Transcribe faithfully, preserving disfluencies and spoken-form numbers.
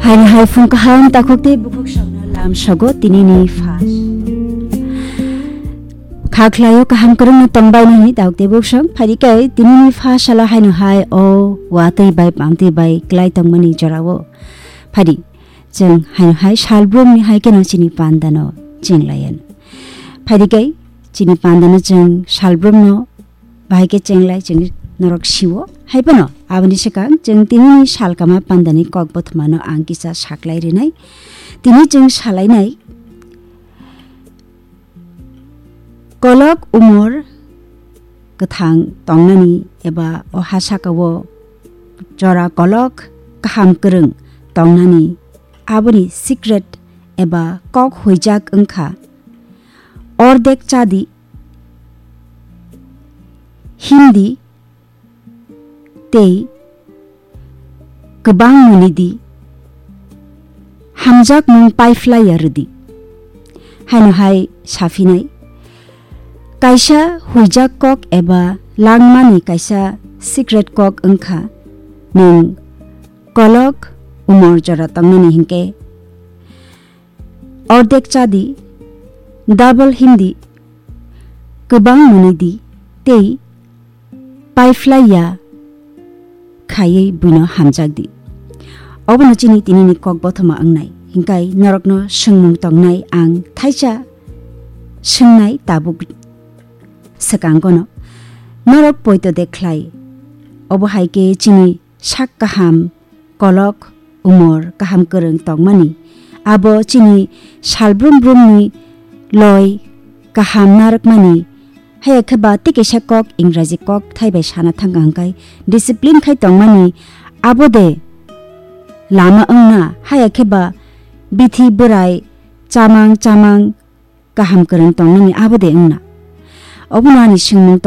Ani hai phung kaham takhuk tei bukhuk songno lam sogo tinini pha. Kha khlaio kaham kwrwngno tongbai nini takhuk tei bukhuk song. Phaidi kai tinini pha salo haino hai o watwi bai pamtwi bai klai tongmani jorao. Phaidi chwng haino hai salbrumni hai keno chini pandano chenglayan. Phaidi kai chini pandano chwng salbrumno bahai khe chenglai chwng norok siwo. Hai phano aboni swkang chwng tinini salkama pandani kok bothomano ang kisa saklai rinai. Tini chwng salainai kolok umor kwthang tongnani eba o ha sakao jora kolok kaham kwrwng tongnani aboni secret eba kok huijak wngkha ordek chadi, himdi tei kwbang mwnwi di, hamjakmung paiphlaiya rwdi. Haino hai saphinai, kaisa huijak kok eba langmani kaisa secret kok wngkha nwng kolok umor jora tongnani hinkhe, ordek chadi, double himdi, kwbang mwnwi di tei paiphlaiya khaiwi buino hamjak di. Obono chini tinini kok bothoma wngnai. Hinkai norokno swngmung tongnai ang thaisa swngnai tabuk swkangono. Norok poito de khlai. Obo hai khe chini sak kaham, kolok, umor kaham kwrwng tongmani. Abo chini salbrum brumni loi kaham narwkmani. Haya khe ba tei kaisa kok, Ingraji kok thai bai sana thang ang kai discipline khai tongmani. Abo de lama wngna, haya khe ba bithi bwrai chamang chamang kaham kwrwng tongnani abo de wngna. Obono ani swngmung tong